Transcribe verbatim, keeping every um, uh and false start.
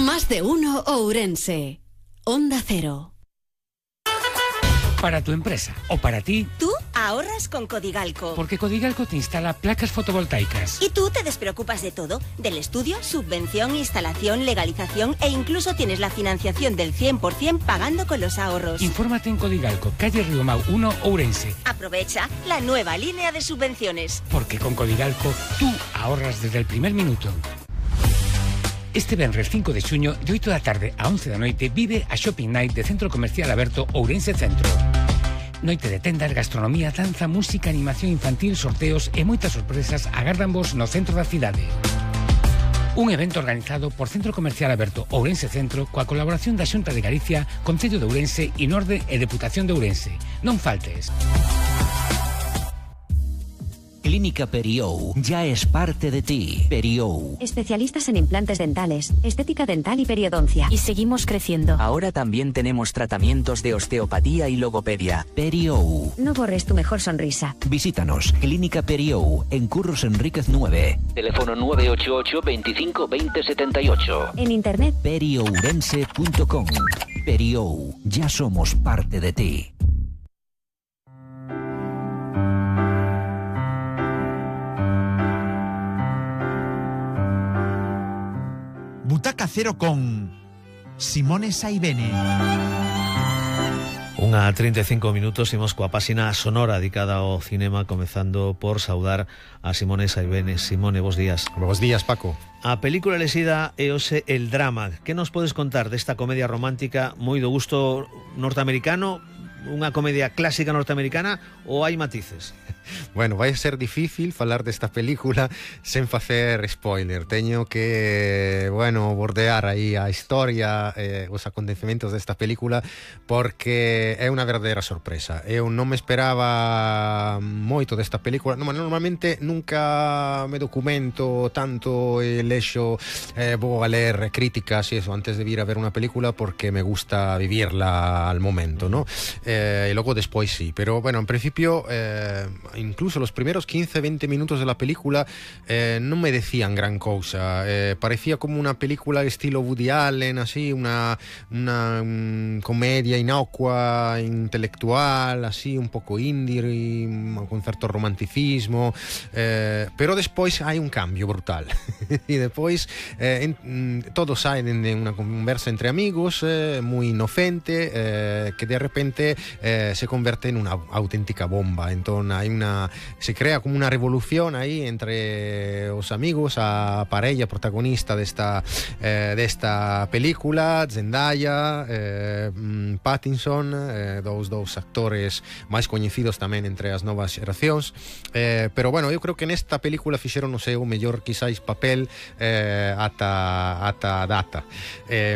Más de uno Ourense. Onda Cero. Para tu empresa o para ti. Tú ahorras con Codigalco. Porque Codigalco te instala placas fotovoltaicas. Y tú te despreocupas de todo. Del estudio, subvención, instalación, legalización e incluso tienes la financiación del cien por ciento pagando con los ahorros. Infórmate en Codigalco, calle Riomau uno, Ourense. Aprovecha la nueva línea de subvenciones. Porque con Codigalco tú ahorras desde el primer minuto. Este venres cinco de xuño, de oito da tarde a once da noite, vive a Shopping Night de Centro Comercial Aberto Ourense Centro. Noite de tendas, gastronomía, danza, música, animación infantil, sorteos e moitas sorpresas agárdanvos no centro da cidade. Un evento organizado por Centro Comercial Aberto Ourense Centro coa colaboración da Xunta de Galicia, Concello de Ourense, Inorde e Deputación de Ourense. Non faltes. Clínica Periou ya es parte de ti. Periou. Especialistas en implantes dentales, estética dental y periodoncia. Y seguimos creciendo. Ahora también tenemos tratamientos de osteopatía y logopedia. Periou. No borres tu mejor sonrisa. Visítanos. Clínica Periou en Curros Enríquez nueve. Teléfono nueve ocho ocho, veinticinco, veinte, setenta y ocho. En internet periourense punto com. Periou. Ya somos parte de ti. Butaca Cero con Simone Saibene. Unha trinta e cinco minutos, imos coa páxina sonora dedicada ao cinema, comezando por saudar a Simone Saibene. Simone, bos días. Bos días, Paco. A película elexida é hoxe El Drama. Que nos podes contar desta comedia romántica moi do gusto norteamericano? Unha comedia clásica norteamericana ou hai matices? Bueno, vai ser difícil falar desta película sen facer spoiler. Teño que, bueno, bordear aí a historia, eh, os acontecementos desta película, porque é unha verdadeira sorpresa. Eu non me esperaba moito desta película. Normalmente nunca me documento tanto e lexo, eh, vou a ler críticas e eso antes de vir a ver unha película, porque me gusta vivirla al momento, ¿no? Eh, e logo despois sí. Pero, bueno, en principio... Eh, incluso los primeros quince, veinte minutos de la película eh, no me decían gran cosa. Eh, parecía como una película estilo Woody Allen, así, una, una um, comedia inocua, intelectual, así, un poco indie, con cierto romanticismo. Eh, pero despois hai un cambio brutal. E despois eh, en, todo sae de una conversa entre amigos, eh, muy inocente, eh, que de repente eh, se convierte en una auténtica bomba. Entón hai una se crea como una revolución aí entre os amigos, a parella protagonista desta eh, desta película, Zendaya, eh, Pattinson, eh, dous dous actores máis coñecidos tamén entre as novas xeracións, eh, pero bueno, eu creo que nesta película fixeron o seu mellor quizáis papel eh, ata ata data. Eh,